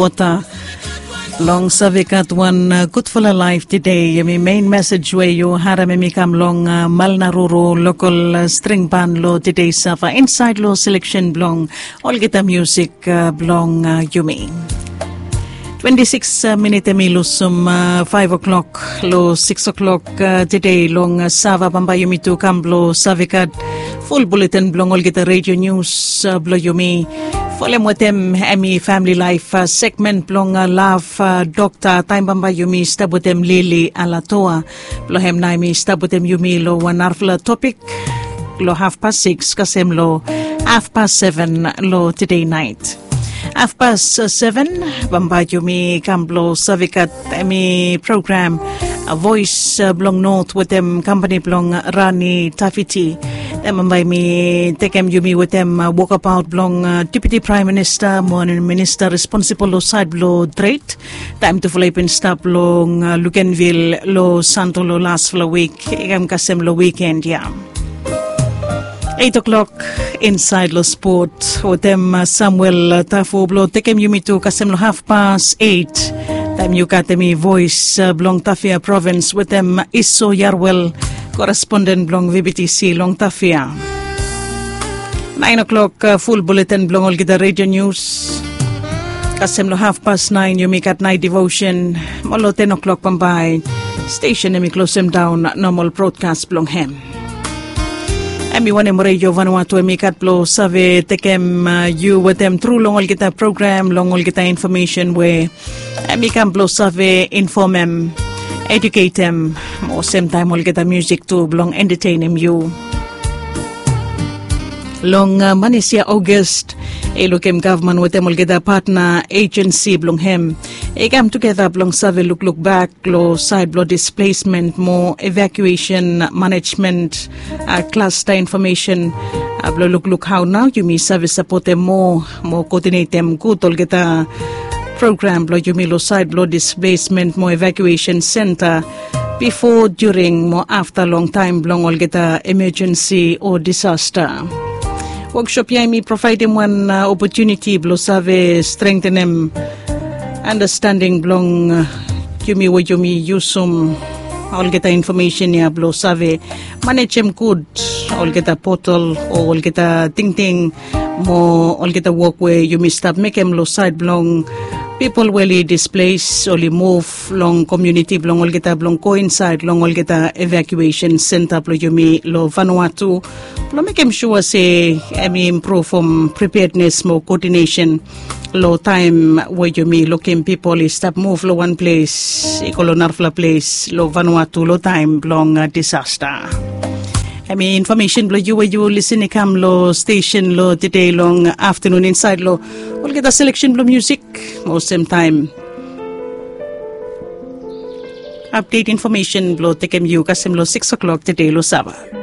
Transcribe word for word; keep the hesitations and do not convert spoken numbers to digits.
Wota long save gat wan gudfala laif tede. Yumi mein mesej we yu harim em i kam long malnaruru lokal string ban long tede sava insaed long seleksen blong olgeta musik blong yumi. Twenti sikis minit em i lusum faiv o'klok long sikis o'klok tede long sava bambae yumi tu kam blong save gat ful buletin blong olgeta redio nius blong yumi. Folem wetem em i famili laif segmen blong lav dokta taem bambae yumi stap wetem Lili Alatoa. Blong hem nao em i stap wetem yumi long wan narafala topik long hafpas sikis kasem long hafpas seven long tede naet. Hafpas seven bambae yumi kam blong save gat em i program Voes blong Not wetem kampani blong Rani Tafiti. Taem bambae mi tekem yumi wetem wokabaot blong Deputi Praem Minista mo minista responsibol long saed blong tred. Taem tufala i bin stap long Lukenvil long Santo long lasfala wik i kam kasem long wiken ya. Eit o'klok insaed long spot wetem Samuel Tafu blong tekem yumi tu kasem long hafpas eit. Taem yu gat em i voes blong Tafea provins wetem Iso Yarwel, koresponden blong VBTC long Tafea. Naen o'klok ful buletin blong olgeta redio nius. Kasem long hafpas naen yumi gat naet devosen. Mo long ten o'klok bambae stesen em i klosem daon nomal brodkas blong hem. Em i wanem redio Vanuatu em i gat blong save tekem yu wetem tru long olgeta program long olgeta infomesen we em i kam blong save infomem, eduketem mo semtaem olgeta musik tu blong entetenem yu. Long manis ya Ogust i lukim gavman wetem olgeta patna ejensi blong hem i kam tugeta blong save lukluk bak long saed blong displesmen mo evakuesen manejmen klasta infomesen blong lukluk hao nao yumi save sapotem moa mo koodinetem gud olgeta program blong yumi long saed blong displesmen mo evakuesen senta bifo, during mo afta long taem blong olgeta emejensi o disasta. Woksop ya em i provaedem wan opotuniti blong save strengtenem andastanding blong yumi we yumi yusum olgeta infomesen ya blong save manejem gud olgeta potol o olgeta tingting mo olgeta wok we yumi stap mekem long saed blong pipol we oli disples oli muv long komuniti blong olgeta blong go insaed long olgeta evakuesen senta blong yumi long Vanuatu blong mekem sua se em i impruvum prepeadnes mo koodinesen long taem we yumi lukim pipol i stap muv long wan ples i go long narafala ples long Vanuatu long taem blong disasta. Em i infomesen blong yu we yu lisin i kam long stesen long tede long aftanun insaed long olgeta seleksen blong musik mo semtaem apdet infomesen blong tekem yu kasem long sikis o'klok tede long sava.